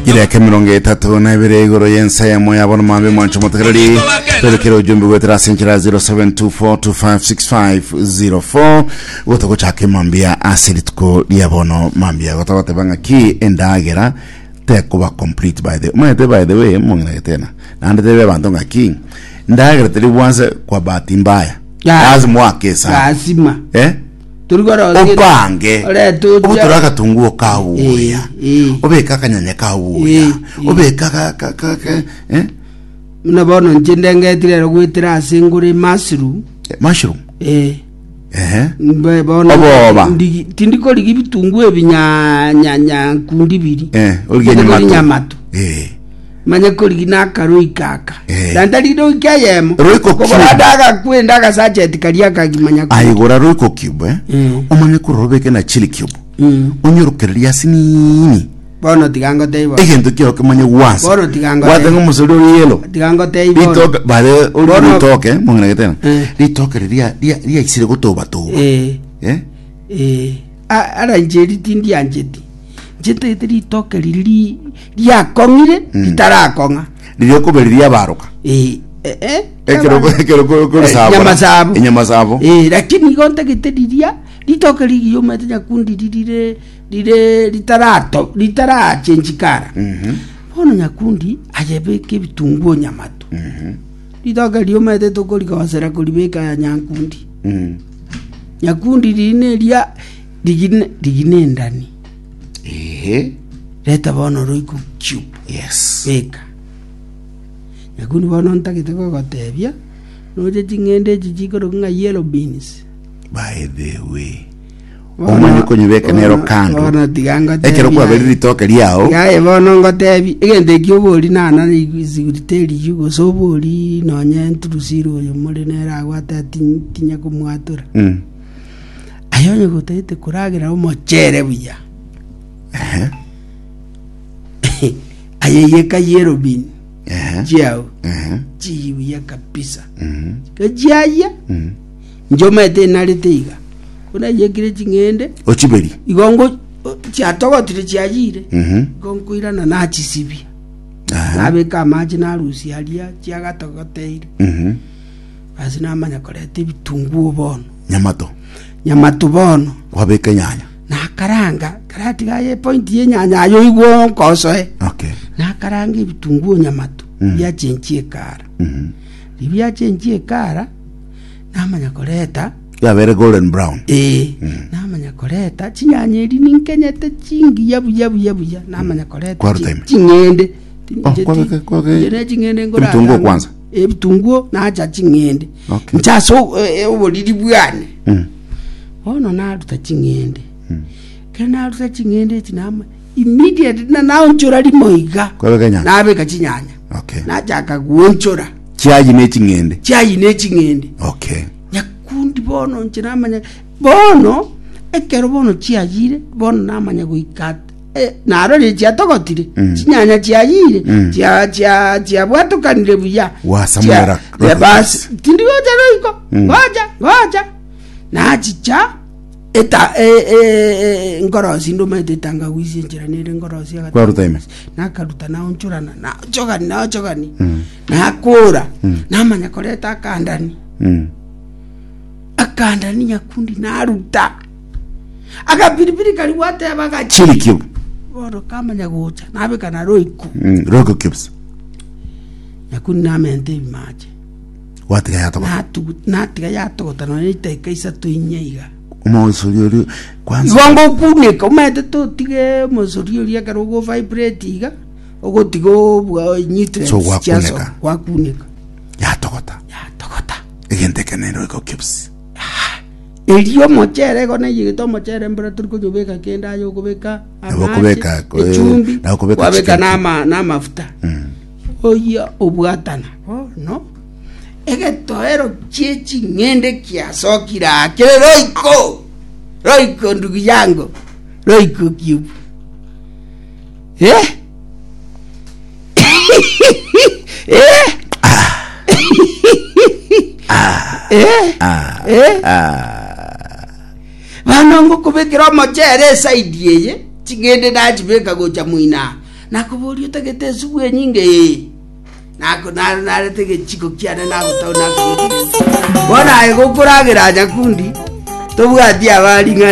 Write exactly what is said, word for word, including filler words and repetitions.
Ireke mirongo itatu na ibere igoro y'ensemo yabona mambe mwancho motegereri twerekere ujumbe gwetera ase enchera zero seven two four two five six five zero four gotogochaka emambia ase rituko ria bono mambia gotogoteba ng'aki endagera tekuba complete. By the omanyete, by the way, mong'ina getena naende tebe abanto ng'aki ndagera teri bwanse kwa bahati mbaya. Ya. Lazima wake sana. Lazima. Eh, turi opange obutura akatunguo kabuya, Eh, eh. obeka akanyanya kabuya, Eh, eh. obeka ka- ka- ka- ka- eh? Muna bono nche ndengetire ero gwetera ase ngore mushroom. Eh, mushroom. Eh. Ehe. Mbe bono Oboba. ndigi- tindi korigi bitungu ebi nya nya nya nkundi biri. Eh, origie Manye kori nyamato. nyamato. Eh. Manye korigi nakaroika aka. Eh. Nantari roika yemo. Royco Kobora cube. ndaga kwenda agasacheti karia kagimanya. Aigora royco cube, eh? Mm. Omanye kurora obeke na chili cube, Mm. onyorokereria asinini. Bono tiga ngotei bono. Egento kio kimanye gwansa. Bono tiga ngotei. Gwatenga omosori ori yellow. Tiga ngotei bono. Ritoke bare ori. Bono- Ritoke mong'ina getena. Eh. Ritoke riria riaisire gotobatoba. Eh. Eh. Eh, a- ara inche tindiancheti, nche ntagete ritoke riri riakong'ire ritarakong'a. Riria okoberiria baroka. Eh, eh, eh, ekero ekero korisabora. Nyamasabo. Enyamasabo. Eh, lakini igo ntagete riria ritoke rigiya omanyete nyakundi ririre rire ritarato ritarachenjikara. Bono nyakundi ayebeka ebitunguo nyamato, ritoke riomanyete tokorigosera koribeka nyankundi. Mm. Nyakundi riri neria rigine rigine endani. Ehe. Reta bono royco cube. Yes. Beka nyakundi bono ntagete gogotebia noche ching'ende echi chikoroka ng'a yellow beans. By the way, omanye konyebeka nero kando. Bono tiga ngotebia. Ekero kwaberi ritoke riao. Yaye, bono ngotebi egento eki obori nana siguriteriyu gose obori nonye nturusire oyo more nere agwate tinya komwatora. Mm. Aye onye gotagete koragera omochere buya, Ehe. aye yeka yellow bean Ehe. chiao. Ehe. Chiyi buya kabisa. Mhm. Kechiaya. Mm. Njomete narete iga kuna yekire ching'ende. Ochiberi. Igo ngo chiatogotire chiayire. Mhm. Igo nkoirana nachisibia. Aha. Nabeka amache narusia aria chiagatogoteire. Mhm. Basi namanya koreta ebitunguo bono. Nyamato. Nyamato bono. Kwabeka enyanya. Nakaranga karatiga ye point yenyanya ayo igwo nkosoe. Okay. Nakaranga ebitunguo nyamato. Mm. Biachenchie ekara. Mhm. Ribiachenchie ekara namanya koreta. Yabere golden brown. Ee, namanya koreta chinyanya eri ninkenyete chingiya buya buya buya namanya koreta Kwaruta chi- ime. ching'ende. Oh, kwabeka- kwabeka- Nche ne ching'ende ngorara- Ebitunguo kwanza? Ebitunguo nacha ching'ende. Okay. Nche ase o- e- oboriri bwane. Mm. Bono naruta ching'ende, kero naruta ching'ende echi nama immediately na naonchora rimo iga. Kwabeka enyanya. Nabeka chinyanya. Okay. Nachaka guonchora. Chiayi ne ching'ende. Chiayi ne ching'ende. Okay. Nyakundi bono nche namanya bono ekero bono chiayire bono namanya goika eh, narorire chiatogotire. Mm. Chinyanya chiayire. Mm. chia chia chiabwatokanire buya. Wasamura Chia- Royco Eh, basi tindigocha royco. Mm. Ngocha ngocha nachicha eta eh, eh, eh, nkorosi ndomaete etangawisi enchera nere nkorosi agata- Kwaruta ime. Nakaruta naonchorana naochogani naochogani nakora namanya koreta akandani. Mm. Akandani nyakundi naruta akapiripiri kari gwateba gachi. Chili cube. Bono kamanya gocha nabeka na royco. Mm. Royco cubes. Nyakundi namente ebimache. Watiga yatogota. Natugu- natiga yatogota nonya itaika isato inye iga. Omosori ori kwanza. Igo ngokuneka omanyete totige omosori oria ekero ogo vibrate iga ogotiga obwa nutrients. So gwakuneka. Chiasoka, gwakuneka. Yatogota. Yatogota. Egento ekene Royco cubes. Erio omochere igo naiyegete omochere mbura tori konyobeka kende aye okobeka Nabo amache, okobeka, eh, echumbi, nabo okobeka kwabeka chicken nama namafuta oya obwatana bono egetoero kie ching'ende kiasokire akere royco royco ndugu yangu royco cube eh eh eh eh bano ngokobekera omochere esaidi eye ching'ende nachibeka gocha moina Nakoboria otagete esubu enyinge ee. Nako nare narete egechiko kiane nagotao nakobeka. Bono aye gokoragera nyakundi tobwati abari ng'a